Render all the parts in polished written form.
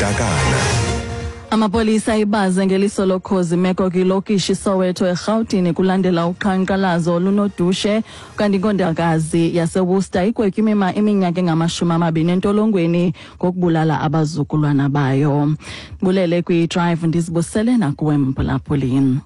Mantakana. Amapolisa ibaze ngeliso lokhozi imeko kwilokishi iSoweto eRhawutini kulandela uqhankqalazo olunodushe, kanti inkondakazi yaseWorcester igwetywe imima iminyaka engama-20 entolongweni ngokubulala abazukulwana bayo. Bulele kwi-Drive, ndizibusele nakuwe mphulaphuli.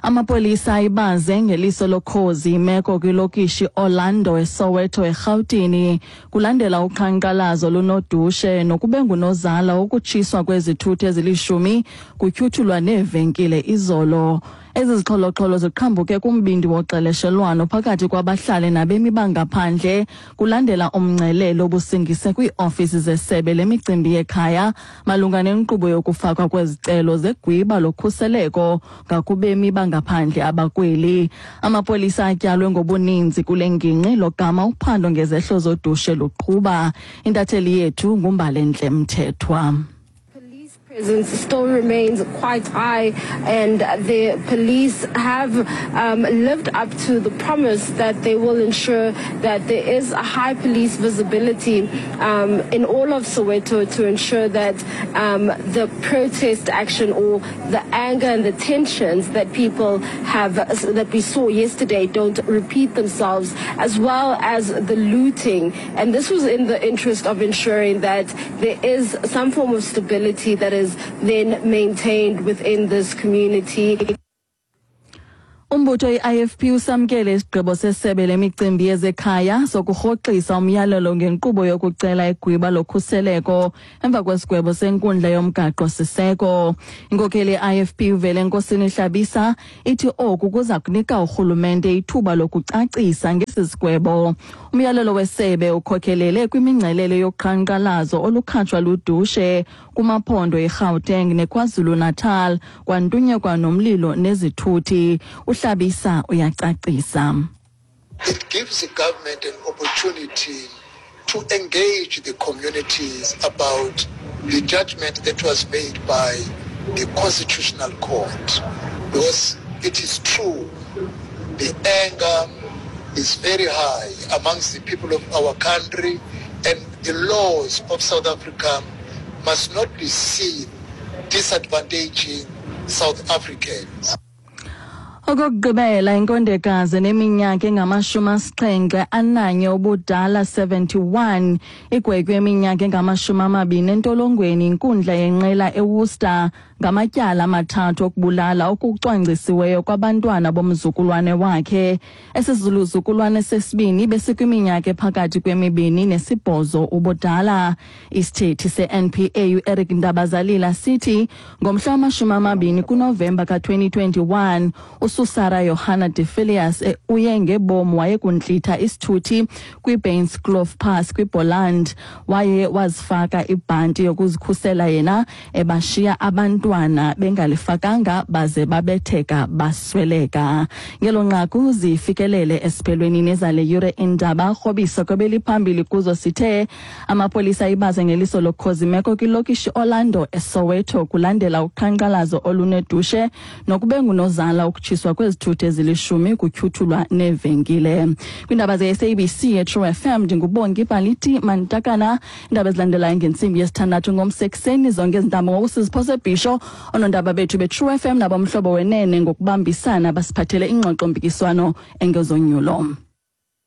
Amapolisa ayibaze ngeliso lokhozi imeko kwilokishi Orlando eSoweto eRhawutini kulandela uqhankqalazo lunodushe nokube ngunozala wokutshiswa kwezithuthi ezilishumi kutyhuthulwa neevenkile izolo. Ezi zixholoxholo ziqhambuke kumbindi woxeleshelwano phakathi kwabahlali nabemi bangaphandle kulandela umngcelele obusingise kwiiofisi zesebe lemicimbi yekhaya malunga nenkqubo yokufakwa kwezicelo zegwiba lokhuseleko ngakubemi bangaphandle abakweli. Amapolisa atyalwe ngobuninzi kule ngingqi logama uphando ngezehlo zodushe luqhuba. Intatheli yethu nguMbalentle Mthethwa. Police presence still remains quite high, and the police have lived up to the promise that they will ensure that there is a high police visibility in all of Soweto to ensure that the protest action or the anger and the tensions that people have, that we saw yesterday, don't repeat themselves, as well as the looting. And this was in the interest of ensuring that there is some form of stability that is then maintained within this community. Umbutho i-IFP usamkele isigqibo sesebe lemicimbi yezekhaya sokurhoxisa umyalelo ngenkqubo yokucela igwiba lokhuseleko emva kwesigwebo senkundla yomgaqo-siseko. Inkokheli ye-IFP uVelenkosini Hlabisa ithi oku kuza kunika urhulumente ithuba lokucacisa ngesi sigwebo. Umyalelo wesebe ukhokhelele kwimingcelele yoqhankqalazo olukhatshwa ludushe kumaphondo iGauteng neKwaZulu-Natal, kwantunyekwa nomlilo nezithuthi. UHlabisa uyacacisa. It gives the government an opportunity to engage the communities about the judgment that was made by the Constitutional Court. Because it is true, the anger is very high amongst the people of our country, and the laws of South Africa must not be seen disadvantaging South Africans. Okokugqibela, inkondekazi neminyaka engama-71 ubudala, 71, igwetywe iminyaka engama-20 entolongweni inkundla yenqela eWorcester ngamatyala amathathu okubulala okucwangcisiweyo kwabantwana bomzukulwane wakhe. Esi sizukulwane sesibini besikwiminyaka ephakathi kwemibini nesibhozo ubudala. Isithethi se-NPA uEric Ndabazalila sithi ngomhla wama-20 kuNovemba ka-2021 uSusara Johanna de Filias uye ngebomu wayekuntlitha isithuthi kwiBainskloof Pass kwiBoland, waye wazifaka ibhanti yokuzikhusela yena, ebashiya abantwana bengalifakanga baze babetheka basweleka. Ngelo nqaku zifikelele esiphelweni nezale yure indaba. Rhobisa kwebeliphambili kuzo sithe amapolisa ibaze ngeliso lokhozi imeko kwilokishi Orlando eSoweto kulandela uqhankqalazo olunedushe nokube ngunozala ukutshiswa kwezithuthi ezilishumi kutyhuthulwa neevenkile. Kwiindaba ze-SABC eTrue FM, ndinguBongi Baliti Mantakana. Iindaba ezilandelayo ngentsimbi yesithandathu ngomsekuseni, zonke ezi ntambo ngoku siziphose bhisho. Oonondaba bethu beTrue FM nabomhlobo wenene ngokubambisana basiphathele ingxoxo-mpikiswano engezonyulo.